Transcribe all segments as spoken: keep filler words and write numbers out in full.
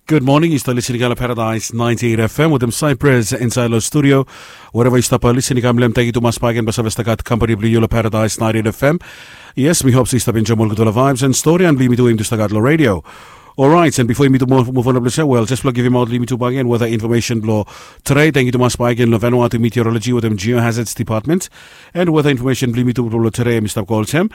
Gud moning, yu stap lisin i kam long Paradise ninety eight F M wetem Cyprus insaed long studio. Wereva yu stap lisin i kam long hem, tangkiu tumas bakegen blong save stap gat kampani blong yu long Paradise ninety eight F M. Yes, mi hop se yu stap enjoem ol gudfala vibes and stori and blong yumi tu we yumi tu stap gat long redio. Orait, and bifo yumi tu muv on blong se, wel, jes blong givimaot long yumi tu bakegen weta infomesen blong tede. Tangkiu tumas bakegen long Vanuatu Meteorology wetem Geohazards Department. And weta infomesen blong yumi tu blong tede, mi stap go olsem.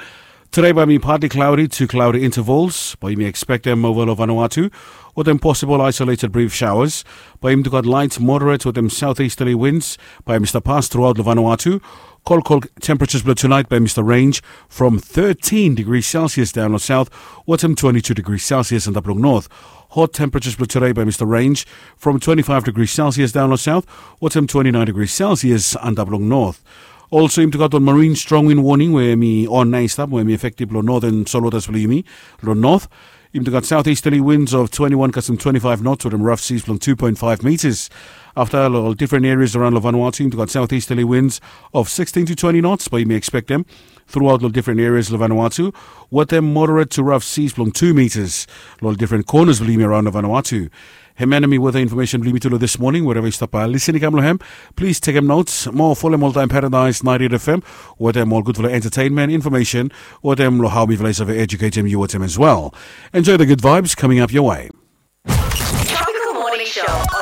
Tede bae mi partly cloudy to cloudy intervals, bae yumi ekspektem ova long Vanuatu wetem possible isolated brief showers. Bae yumi tu gat light, moderate wetem southeasterly winds bae yumi stap pas truaot long Vanuatu. Kolkol temperatures blong tunaet bae yumi stap range from thirteen degrees Celsius daon long south wetem twenty-two degrees Celsius antap long north. Hot temperatures blong tede bae yumi stap range from twenty-five degrees Celsius daon long south wetem twenty-nine degrees Celsius antap long north. Also, yumi tu gat ol marine strong wind warning we mi on nao i stap, we mi efektif long northern solwaters blong yumi. Long north, yumi tu gat southeasterly winds of twenty-one kasem twenty-five knots wetem rough seas blong two point five meters. Afta long ol different areas around long Vanuatu, yumi tu gat southeasterly winds of sixteen to twenty knots bae yumi ekspektem truaot long different areas long Vanuatu wetem moderate to rough seas blong two meters long different corners blong yumi around long Vanuatu. Hemia nao hemi weta infomesen blong yumi tu long this morning. Wereva yu stap lisin i kam long hem, plis tekem notes. Moa folem oltaem Paradise ninety eight F M wetem ol gudfala entertainment infomesen wetem long hao mifala i save eduketem yu wetem as well. Enjoy the good vibes coming up your way. Tropical Morning Show.